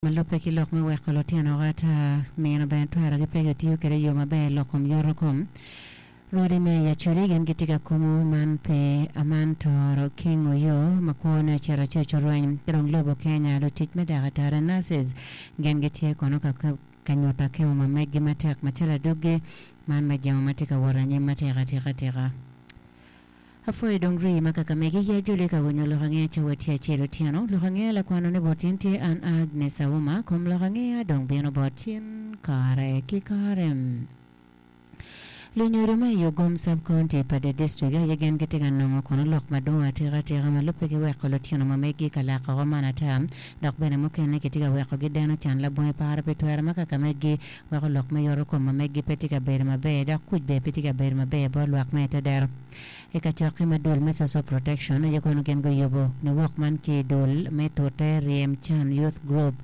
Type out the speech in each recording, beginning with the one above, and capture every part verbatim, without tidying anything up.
Ma lubbe ki lok me weko lutino ata mino bene twero gi pe gitiyo kwede i yo maber lok kom yoto kom Rwodi me Acholi gin gitye ka kumu man pe aman toro King Oyo ma kwone ocito acuc orweny ki dong lobo Kenya lutic me dakatari nurses gin gitye kono ka ka nyuto akemo ma meggi matek macalo adwogi man me jemo ma tye ka wot anyim matek atika atika. Apwoyo dong rii ma kaka megi ya joli ka winyo lok angeya cawa tye acel otyeno lok angeya lakwano ni bot in tye an Agnes Auma kom lok angeya dong bino bot cin kare ki kare. Lunyodo ma i Ogom Sub-County pa the district aye gin gitye ka nongo kono lok madwong atika atika ma lubbe ki weko lutino ma meggi ka lako oko man ata dok bene mukene kitye ka weko gideno can labongo paro pi twero ma kaka meggi weko lok me yoto kom ma meggi pe tye ka bedo maber dok kuc bene pe tye ka bedo maber bot lwak me tedero. I kacokke ma dul me Social Protection aye kono gin guyubo niwok man ki i dul me tute Ryem Can Youth Group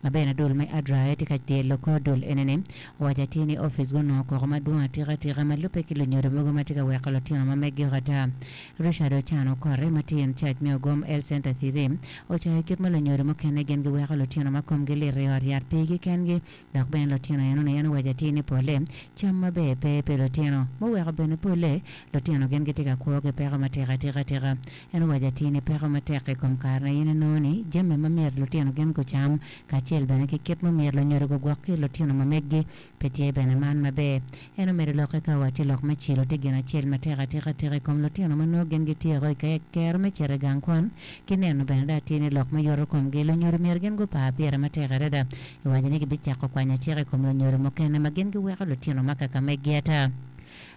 ma bene dul me ADRA aye tye ka tyelo kor dul enini owaco atir ni opic gunongo koko madwong atika atika ma lubbe ki lunyodo mogo ma tye ka weko lutino ma meggi oko ata. Richard Ochan Okote ma tye in charge me Ogom Health Center three ocayo kit ma lunyodo mukene gin giweko lutino ma komgi lit i ot yat pigi kengi dok bene lutino enoni en owaco atir ni pole cam maber pe pi lutino muweko bene pole lutino gin gitye ka kwo ki peko matek atika atika. En owaco atir ni peko matek i kom kare na in inongo ni jami ma myero lutino gin gucam kacel bene ki kit ma myero lunyodo gugwok ki lutino ma meggi pe tye bene man maber. En omedo lokke ka owacci lok me cilo tye gin acel matek atika atika i kom lutino ma nongo gin gityeko i kero me cito i gang kwan ki neno bene dok atir ni lok me yoto komgi lunyodo myero gin gupar pire matek adada. Iwaco ni gibicako kwanyo cik i kom lunyodo mukene ma gin giweko lutino ma kaka meggi ata.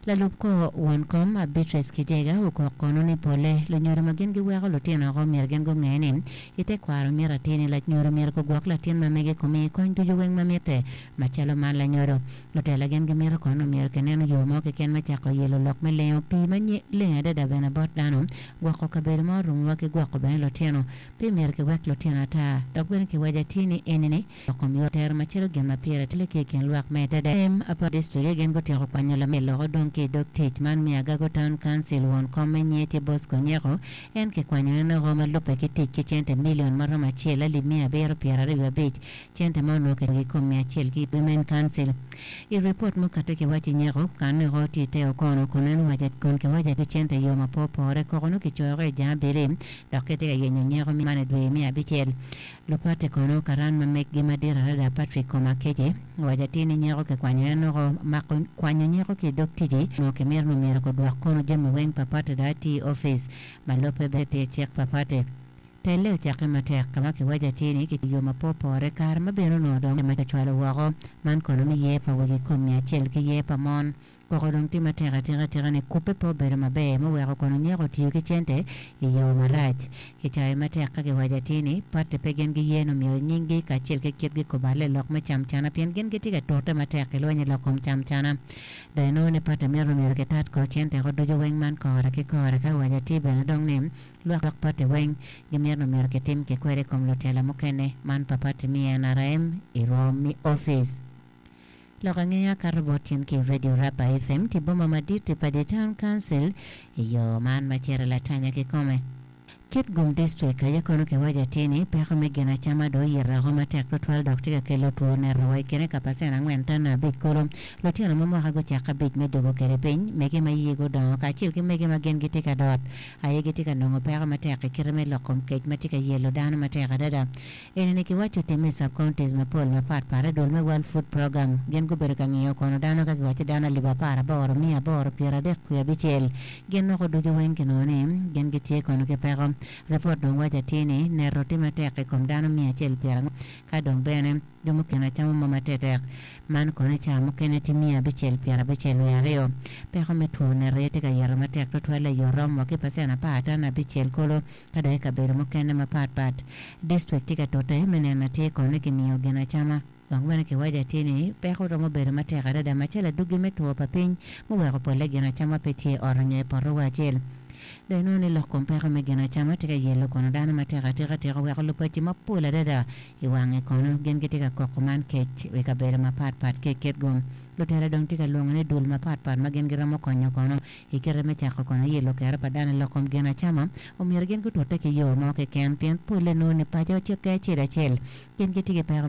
Lalub kor won kom Beatrice Kijega okok kono ni pole lunyodo ma gin giweko lutino oko myero gin gunge ni i tekwaro myero atir ni lanyodo myero gugwok latin ma mege kumi kony ducu weng ma mitte macalo man lanyodo. Lutela gin gimito kono myero kineno yo mo keken me cako yelo lok me lengo pii ma leng adada bene bot dano gwoko kabedo ma orumowa ki gwoko bene lutino pe myero kiwek lutino ata dok bene kiwaco atir ni enini lok kom yo tero macalo gin ma pire tek ki i kin lwak me tede. Apa District gin gutyeko kwanyo lamel loko dong ki i dog tic man me Agago Town Council won kom me Nyeti Bosco Nyeko en kikwanyo en oko ma lubbe ki tic ki cente milion maromo acel alip mia abiro pyeraryo abic cente ma onongo ki kom mia acel ki Women Council. I ripot mukate kiwaco Nyeko kan oko tye te okono kun en owaco kun kiwaco ki cente yo ma pe opore koko nongo kicoyo i jang abili dok kitye ka yenyo Nyeko man i dwe me abicel. Lupate kono karan ma meggi madit adada Patrick Komakece owaco atir ni Nyeko kikwanyo en oko mako kwanyo Nyeko ki i dog ticci onongo kimito ni myero gudwok kono jami weng pa pate dok ati i opic ma lubbe bene tye cik pa pate. Telle ocakke matek ka ma kiwaco atir ni ki yo ma pe opore kare ma bene onongo dong ma kicwalo woko man kono ni yer pa wegi kom mia acel ki yer pa mon koko dong tye matek atika atika ni kubbe pe obedo maber muweko kono Nyeko otiyo ki cente i yo marac. Kicayo matek ka kiwaco atir ni pate pe gin giye ni myero nyinggi kacel ki kitgi kuballe lok me camcana pien gin gitye ka tute matek i lweny i lok kom camcana. Dong inongo ni pate myero myero kitat ko cente ko ducu weng man kore ki kore ka kiwaco atir bene dong ni lwak pate weng gimito ni myero kitim ki kwede i kom lutela mukene man pa pati me N R M i rwom me opic. Lok angeya kato bot tyen ki Radio Rapa F M ti boma madit pa the Town Council i yo man ma cito latanya kikome. Kitgum District aye kono kiwaco atir ni peko me gin acama dong oyito oko matek tutwal dok tye ka kelo two neto wa i kine ka pacen angwen tano abic kulu. Lutino ma mwaka gucako abic me dugo kwede piny mege ma yie gudongo kacel ki mege ma gin gitye ka dot aye gitye ka nongo peko matek i kite me lok kom kec ma tye ka yelo dano matek adada. Enini kiwaco timme i sub-counties mapol mapatpat i dul me World Food Program gin gubedo ka ngiyo kono dano ka kiwaco dano alip apar aboro mia aboro pyeradek wiye abicel gin noko ducu weng kinongo ni gin gitye kono ki peko. Ripot dong waco atir ni neto tye matek i kom dano mia acel pyerangwen ka dong bene jo mukene acamo mo matetek man kono i cawa mukene tye mia abicel pyerabicel wiye aryo. Peko me two neto aye tye ka yito matek tutwal i yo romo ki pacen apar tano abicel kulu ka dong i kabedo mukene mapatpat. District tye ka tute me neno atir kono ni kimiyo gin acama. Dong bene kiwaco atir ni peko romo bedo matek adada macalo adwogi me two pa piny muweko polle gin acama pe tye i ot onyo i poto wa acel. Dong inongo ni lok kom peko me gin acama tye ka yelo kono dano matek atika atika oweko lupaci mapol adada i wange kono gin gitye ka koko man kec i kabedo mapatpat ki i Kitgum. Lutela dong tye ka lwongo ni dul mapatpat ma gin giromo konyo kono i kite me cako kono yelo kero pa dano i lok kom gin acama omyero gin gutute ki yo mo keken pien polle nongo ni paco ki acel acel gin gitye ki peko